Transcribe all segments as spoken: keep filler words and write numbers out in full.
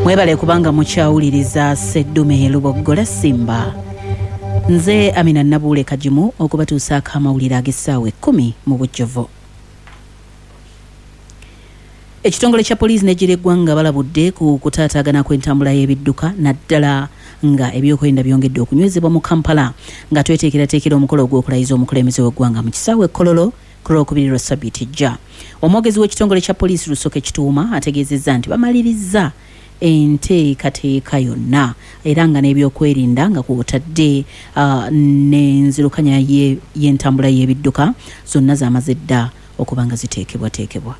Mwebale kubanga mukyawuliriza Sseddume Luboggola Simba. Nze Amina Nabuule Kagimu okubatuusaako amawulire ag'essaawa ekkumi mu bujjuvu. Ekitongole kya poliisi n'eggye ly'eggwanga balabudde ku kutaataagana kw'entambula y'ebidduka, naddala nga ebyokwerinda byongedde okunywezebwa mu Kampala nga tweteekerateekera omukolo ogw'okulayiza omukulembeze w'eggwanga mu kisaawe e Kololo ku Lwokubiri lwa ssabbiiti ejja. Omwogezi w'ekitongole kya poliisi Rusoke Kituuma ategeezezza nti bamalirizza enteekateeka yonna era nga n'ebyokwerinda nga kw'otadde uh, n'enzirukanya y'entambula y'ebidduka zonna zamaze dda okuba nga ziteekebwateekebwa.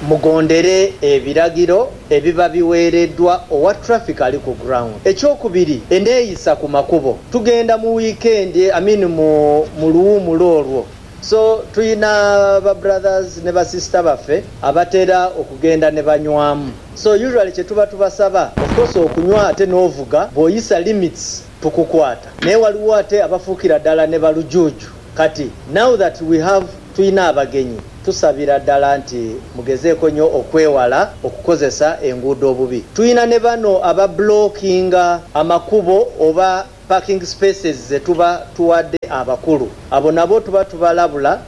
Mugondere ebiragiro ebiba biweereddwa owa traffic ali ku ground. Ekyokubiri, enneeyisa ku makubo. Tugenda mu weekend, I mean mu, mu luwumulo olwo. So tuyina ba brothers ne ba sister baffe abatera okugenda ne banywamu. So usually kye tuba tubasaba, of course okunywa ate n'ovuga, bw'oyisa limits tukukwata. Naye waliwo ate abafuukira ddala ne balujuuju. Kati now that we have tuyina abagenyi, tusabira ddala nti mugezeeko nnyo okwewala okukozesa enguudo obubi. Tuyina ne bano abablockinga amakubo oba parking spaces ze tuba tuwadde abakulu. Abo nabo tuba tubalabula.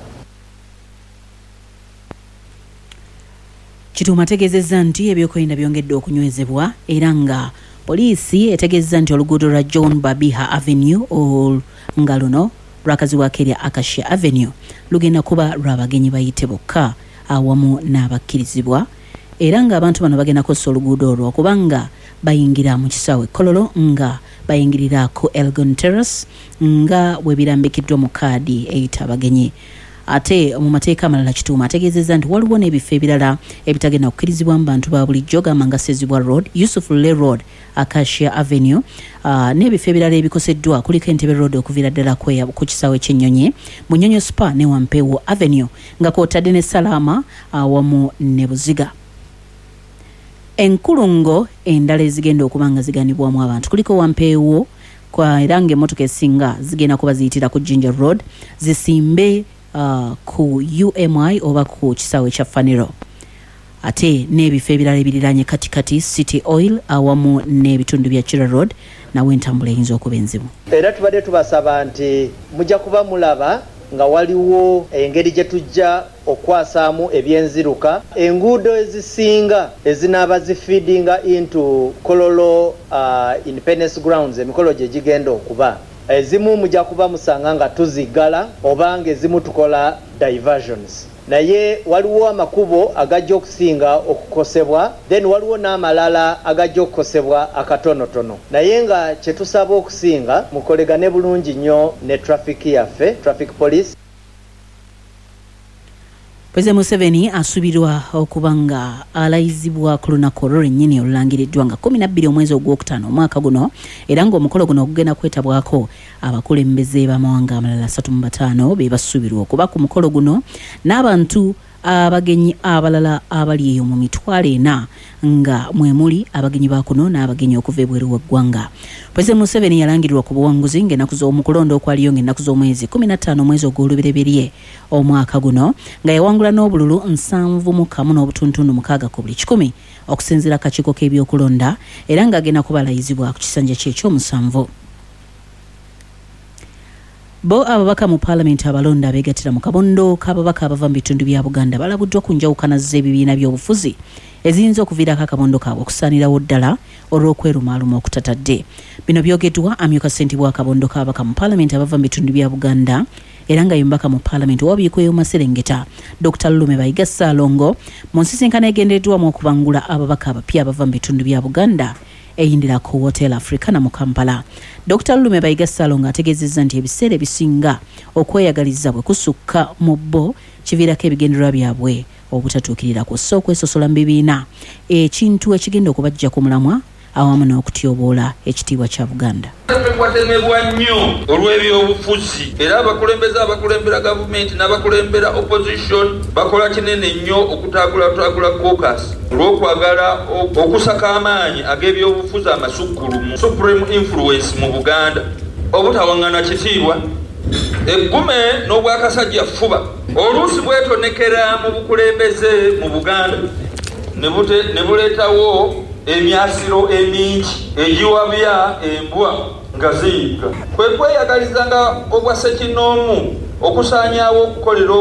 Kituuma ategeezezza nti ebyokwerinda byongedde okunywezebwa era nga poliisi etegeezezza nti oluguudo lwa John Babiha Avenue nga luno lwakazibwako erya Acacia Avenue lugenda kuba lw'abagenyi bayite bokka awamu n'abakkirizibwa, era ng'abantu bano bagenda kukozesa oluguudo olwo kubanga bayingira mu kisaawe Kololo nga bayingirira ku Elgon Terrace nga bwe birambikiddwa mu kaadi eyita abagenyi. Ate mu mateeka amalala Kituuma ategeezezza nti waliwo n'ebifo ebirala ebitagenda kukkirizibwa mu bantu ba bulijjo gamba nga Sezibwa Road, Yusuf Lule Road, Acacia Avenue, uh, n'ebifo ebirala ebikoseddwa kuliko Entebbe Road okuviira ddala ku kisaawe ky'ennyonyi, Munyonyo Spa ne Wampeewo Avenue nga kw'otadde ne Salaama awamu ne Buziga. Enkulungo endala ezigenda okuba nga ziganibwamu abantu kuliko Wampeewo kwa era ng'emmotoka esinga zigenda kuba ziyitira ku Jinja Road zisimbe Uh, ku U M I oba ku kisaawe kya Faniro. Ate n'ebifo ebirala ebiriraanye Katikati, City Oil awamu n'ebitundu bya Kira Road nawe entambula eyinza okuba enzibu. Era tubadde tubasaba nti mujja kuba mulaba nga waliwo engeri gye tujja okwasaamu ebyenziruka. Enguudo ezisinga ezinaaba zifeedinga into Kololo uh, Independence Grounds, emikolo gye gigenda okuba ezimu mujja kuba musanga nga tuziggala oba ng'ezimu tukola diversions. Naye waliwo amakubo agajja okusinga okukosebwa, then waliwo n'amalala agajja okukosebwa akatonotono. Naye nga kye tusaba okusinga mukolegane bulungi nnyo ne traffic yaffe, traffic police. Pulezidenti Museveni asuubirwa okuba nga alayizibwa ku lunaku olwo lwennyini olulangiriddwa nga kkumi na bbiri omwezi ogwokutaano omwaka guno, era ng'omukolo guno ogugenda kwetabwako abakulembeze b'amawanga amalala asatu mu bataano be basuubirwa okuba ku mukolo guno n'abantu abagenyi abalala abali eyo mu mitwalo ena nga mwe muli abagenyi ba kuno n'abagenyi okuva ebweru w'eggwanga. Pulezidenti Museveni yalangirirwa ku buwanguzi ng'ennaku z'omukulonda okwaliyo ng'ennaku z'omwezi kkumi na ttaano omwezi ogw'olubereberye omwaka guno nga yawangula n'obululu nsanvu mu kamu n'obutuntundu mukaaga ku buli kikumi okusinziira akakiiko k'ebyokulonda, era ng'agenda kubalayizibwa ku kisanja kye ekyomusanvu. Bo ababaka mu paalamenti abalonda abeegattira mu kabondo k'ababaka abava mu bitundu bya Buganda balabuddwa ku njawukana z'ebibiina by'obufuzi eziyinza okuviirako akabondo kaabwe okusaanirawo ddala olw'okwerumaaluma okutatadde. Bino byogeddwa amyuka ssentebe w'akabondo k'ababaka mu paalamenti abava mu bitundu bya Buganda era nga ye mubaka mu paalamenti owa Buikwe Maserengeta Dokita Lulume Bayiga Ssaalongo mu nsisinkano egendereddwamu okubangula ababaka abapya abava mu bitundu bya Buganda eyindira ku Hotel Africana mu Kampala. Dokita Lulume Bayiga Ssaalongo ategeezezza nti ebiseera ebisinga okweyagaliza bwe kusukka mu bo kiviirako ebigendererwa byabwe obutatuukirira kw'ossa okwesosola mu bibiina, ekintu ekigenda okubajja ku mulamwa awamu n'okutyoboola ekitiibwa kya Buganda. Watemebwa nnyo olw'ebyobufuzi, era abakulembeze abakulembera gavumenti n'abakulembera opposition bakola kinene nnyo okutaagulataagula caucus olw'okwagala okusaka amaanyi ag'ebyobufuzi amasukkulumu, supreme influence mu Buganda, obutawaŋŋana kitiibwa, eggume n'obwakasajja ffuba oluusi bwetonekera mu bukulembeze mu Buganda. ne buleetawo emyasiro emingi egiwabya embwa nga ziyigga. Kwe kweyagalizanga obwa ssekinnoomu okusaanyaawo okukolera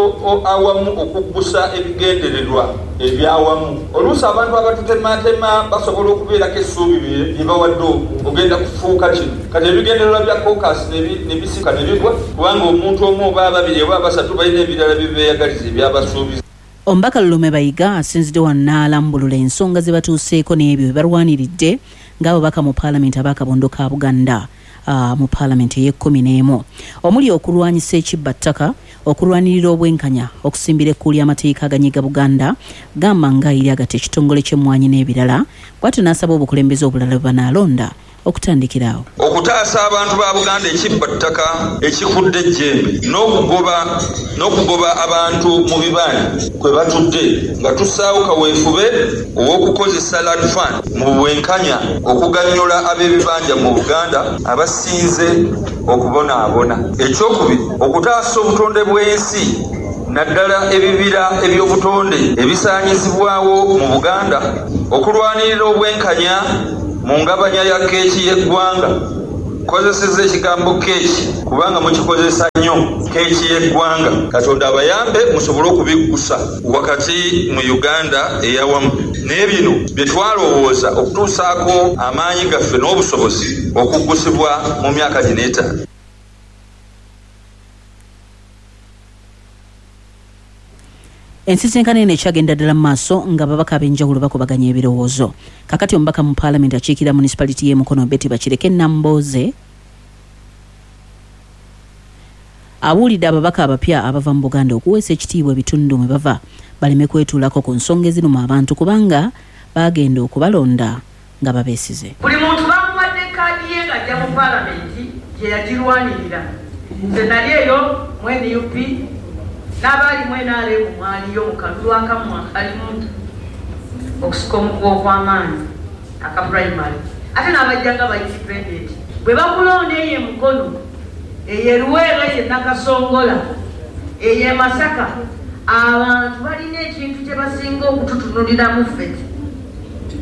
awamu okuggusa ebigendererwa ebyawamu. Oluusi abantu abatutematema basobola okubeerako essuubi lye bawadde ogenda kufuuka kino. Kati ebigendererwa bya caucus ne bisika ne bigwa kubanga omuntu omu oba ababiri oba abasatu balina ebirala bye beeyagaliza ebyabasuubiza. Omubaka Lulume Bayiga asinzidde wano n'alambulula ensonga ze batuuseeko n'ebyo bye balwaniridde ng'ababaka mu paalamenti ab'akabondo ka Buganda uh, mu paalamenti ey'ekkumi n'emu, omuli okulwanyisa ekibbattaka, okulwanirira obwenkanya, okusimbira ekkuuli amateeka aganyiga Buganda gamba nga eri agatta ekitongole ky'emmwanyi n'ebirala. Bw'atyo n'asaba obukulembeze obulala bwe banaalonda okutandikira awo. Okutaasa abantu ba Buganda ekibbattaka ekikudde ejjembe n'okugoba n'okugoba abantu mu bibanja kwe batudde nga tussaawo kaweefube ow'okukozesa land fund mu bwenkanya okuganyula ab'ebibanja mu Buganda abasinze okubonaabona. Ekyokubiri, okutaasa obutonde bw'ensi naddala ebibira eby'obutonde ebisaanyizibwawo mu Buganda, okulwanirira obwenkanya mu ngabanya ya keeki y'eggwanga. Kozesezza ekigambo keeki kubanga mukikozesa nnyo, keeki y'eggwanga. Katonda abayambe musobole okubiggusa wakati mu Uganda eyawamu. Naye bino bye twalowooza okutuusaako amaanyi gaffe n'obusobozi okuggusibwa mu myaka gino etaano. Ensisinkano eno ekyagenda ddala mu maaso nga ababaka ab'enjawulo bakubaganya ebirowoozo. Kakati omubaka mu paalamenti akiikirira municipality y'e Mukono Betty Bakireke Nambooze abuulidde ababaka abapya abava mu Buganda okuweesa ekitiibwa ebitundu mwe bava baleme kwetuulako ku nsonga eziruma abantu kubanga baagenda okubalonda nga babeesize. Buli muntu bamuwadde kaadi ye ng'ajja mu paalamenti gye yagirwanirira. Nze nali eyo mu N U P n'abaali mu N R M mwaliyo mu kalulu akamu akalimu okusika omuguwa okw'amaanyi aka primary, ate n'abajja nga ba independent. Bwe bakulonda eyo e Mukono, eyo e Luweero, eyo e Nakasongola, eyo e Masaka, abantu balina ekintu kye basinga okututunuliramu ffe.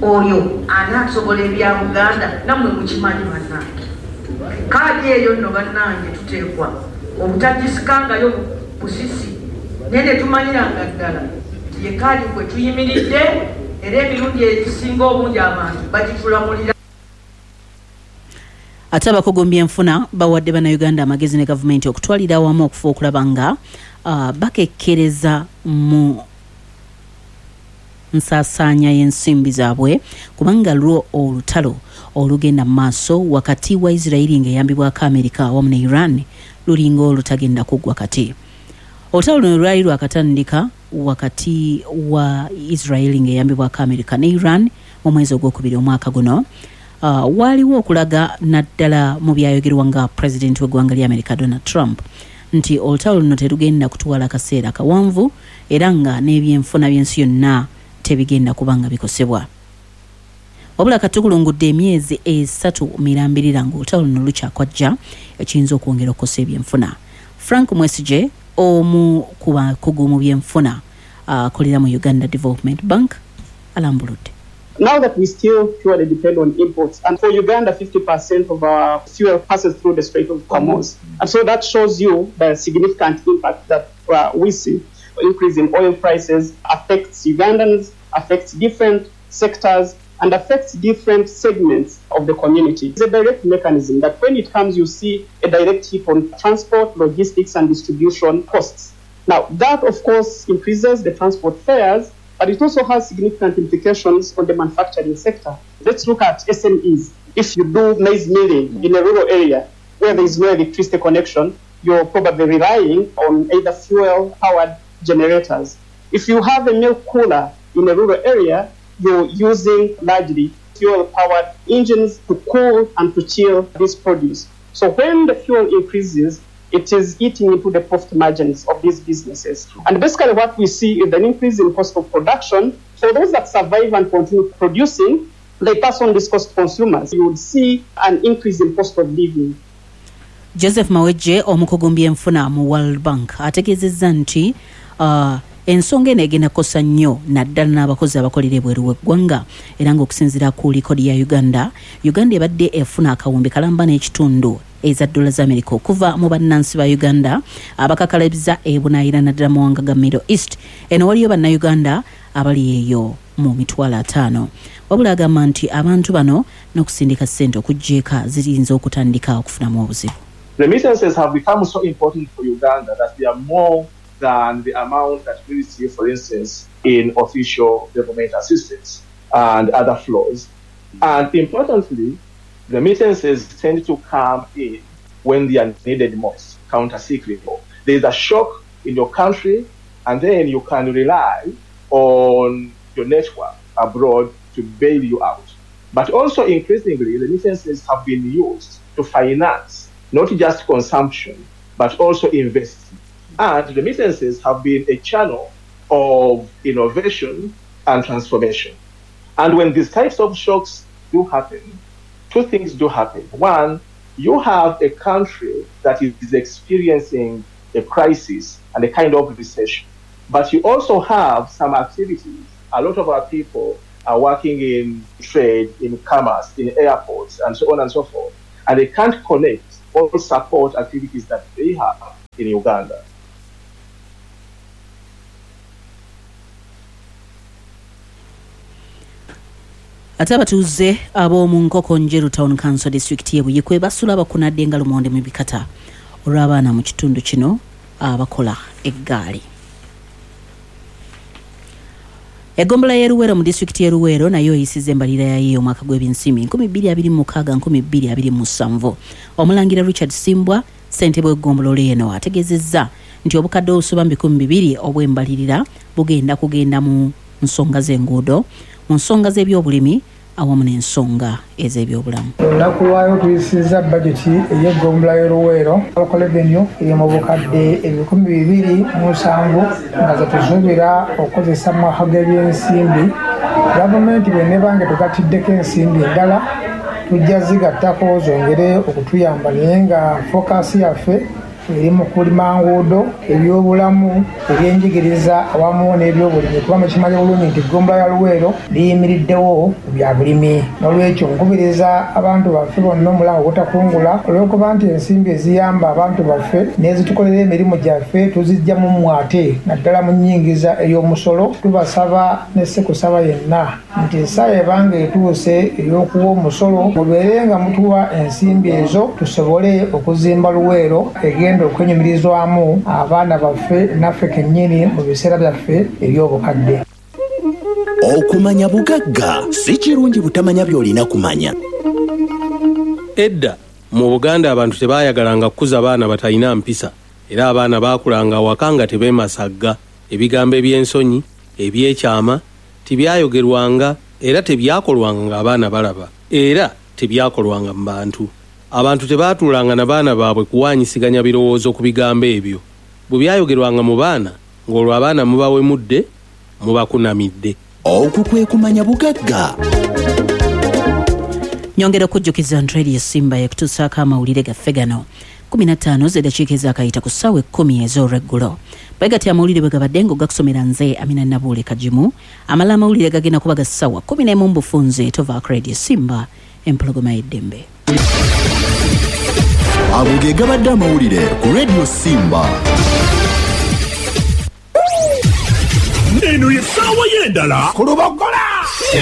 Oyo anaasobola ebya Buganda, nammwe mukimanyi bannange. Kaadi eyo nno bannange tuteekwa obutagisikangayo busisi, naye ne tumanyiranga ddala nti ye kaadi kwe tuyimiridde, era emirundi egisinga obungi abantu bagitulamulira. Ate abakugu mu byenfuna bawadde bannayuganda amagezi ne gavumenti okutwalira awamu okufa okulaba nga uh, bakekkereza mu nsaasaanya y'ensimbi zaabwe kubanga lwo olutalo olugenda mu maaso wakati wa Israeli ng'eyambibwako Amerika awamu ne Iran lulinga olutagenda kuggwa kati. Olutalo luno lwali lwakatandika wakati wa Israeli ng'eyambibwako Amerika ne Iran mu mwezi ogwokubiri omwaka guno. Uh, waliwo okulaga naddala mu byayogerwa nga pulezidenti w'eggwanga lya Amerika Donald Trump nti olutalo luno terugenda kutwala kaseera kawanvu era nga n'ebyenfuna by'ensi yonna tebigenda kuba nga bikosebwa. Wabula katukulungudde emyezi esatu mirambirira ng'olutalo luno lukyakwajja ekiyinza okwongera okukosa ebyenfuna. Frank Mwesige omu ku bakugu mu byenfuna akolera uh, mu Uganda Development Bank alambuludde. Now that we still purely depend on imports, and for Uganda, fifty percent of our fuel passes through the Strait of Hormuz. And so that shows you the significant impact that uh, we see. Increase in oil prices affects Ugandans, affects different sectors, and affects different segments of the community. It's a direct mechanism that when it comes, you see a direct hit on transport, logistics, and distribution costs. Now, that, of course, increases the transport fares, but it also has significant implications on the manufacturing sector. Let's look at S M Es. If you do maize milling in a rural area where there is no electricity connection, you're probably relying on either fuel-powered generators. If you have a milk cooler in a rural area, you're using largely fuel-powered engines to cool and to chill this produce. So when the fuel increases, it is eating into the profit margins of these businesses. And basically what we see is an increase in cost of production. For those that survive and continue producing, they pass on this cost to consumers. You would see an increase in cost of living. Joseph Mawejje omukugu mu byenfuna mu World Bank ategeezezza nti uh, Ensonga eno egenda kukosa nnyo naddala n'abakozi abakolera ebweru w'eggwanga, era ng'okusinziira ku likodi ya Uganda, Uganda ebadde efuna akawumbi kalamba n'ekitundu eza dola za Amerika okuva mu bannansi ba Uganda abakakalabiza ebunaayira naddala mu mawanga ga Middle East. Eno waliyo bannayuganda abali eyo mu mitwalo ataano. Wabula agamba nti abantu bano n'okusindika ssente okujja eka ziyinza okutandika okufunamu obuzibu. Remittances have become so important for Uganda that they are more than the amount that we receive, for instance, in official government assistance and other flows. And importantly, remittances tend to come in when they are needed most, counter-cyclical. There is a shock in your country, and then you can rely on your network abroad to bail you out. But also increasingly, remittances have been used to finance not just consumption, but also investing. And remittances have been a channel of innovation and transformation. And when these types of shocks do happen, two things do happen. One, you have a country that is experiencing a crisis and a kind of recession. But you also have some activities. A lot of our people are working in trade, in commerce, in airports, and so on and so forth. And they can't connect or support activities that they have in Uganda. Ate abatuuze ab'omu Nkoko Njeru Town Council District y'e Buikwe basula bakunadde nga lumonde mu bikata olw'abaana mu kitundu kino abakola eggaali. Eggombolola y'e Luweero mu disitulikiti y'e Luweero nayo eyisizza embalirira yayo omwaka gw'ebyensimbi nkumi bbiri abiri mu mukaaga nkumi bbiri abiri mu musanvu. Omulangira Richard Simbwa, ssentebe w'eggombolola eno, ategeezezza nti obukadde obusoba mu bikumi bibiri obw'embalirira bugenda kugenda mu nsonga z'enguudo, mu nsonga z'ebyobulimi awamu n'ensonga ez'ebyobulamu. Olunaku lwayo tuyisizza bajeti ey'eggombolola y'e Luweero local revenue eri mu bukadde ebikumi bibiri mu nsanvu nga ze tusuubira okukozesa mu mwaka gw'ebyensimbi. Gavumenti bw'eneeba nga tugattiddeko ensimbi endala tujja zigattako zongere okutuyamba, naye nga fokasi yaffe eri mu kulima nguudo, ebyobulamu, ebyenjigiriza awamu n'ebyobulimi, kuba mukimanyi bulungi nti eggombolola ya Luweero liyimiriddewo ku bya bulimi. N'olwekyo nkubiriza abantu baffe bonna omulango ogutakungula, olw'okuba nti ensimbi eziyamba abantu baffe n'ezitukolera emirimu gyaffe tuzijja mu mmwe ate naddala mu nnyingiza ey'omusolo. Tubasaba ne ssekusaba yenna nti essaawa ebanga etuuse ey'okuwa omusolo, mubeere nga mutuwa ensimbi ezo tusobole okuzimba Luweero egenda okwenyumirizwamu abaana baffe naffe kennyini mu biseera byaffe eby'obukadde. Okumanya bugagga si kirungi butamanya by'olina kumanya. Edda mu Buganda abantu tebaayagalanga kukuza baana batalina mpisa, era abaana baakulanga awaka nga tebeemasagga. Ebigambo eby'ensonyi, ebyekyama tebyayogerwanga era tebyakolwanga ng'abaana balaba, era tebyakolwanga mu bantu. Abantu tebaatuulanga na baana baabwe kuwaanyisiganya birowoozo ku bigambo ebyo. Bwe byayogerwanga mu baana, ng'olwo abaana mubawemudde, mubakunamidde. Okwo kwe kumanya bugagga. Nyongera okujjukiza nti Radio Simba yekutuusaako amawulire gaffe gano kumi na ttaano z'eddakiika ezaakayita ku ssaawa ekkumi ez'olweggulo. Bwe gati amawulire bwe gabadde ng'ogakusomera nze Amina Nabuule Kagimu. Amala amawulire gagenda kuba ga ssaawa kkumi n'emu mu bufunze. Tovaako Radio Simba, empologoma y'eddembe. Ago ge gabadde amawulire ku Radio Simba. Eno ye ssaawa y'endala ku Lubogola.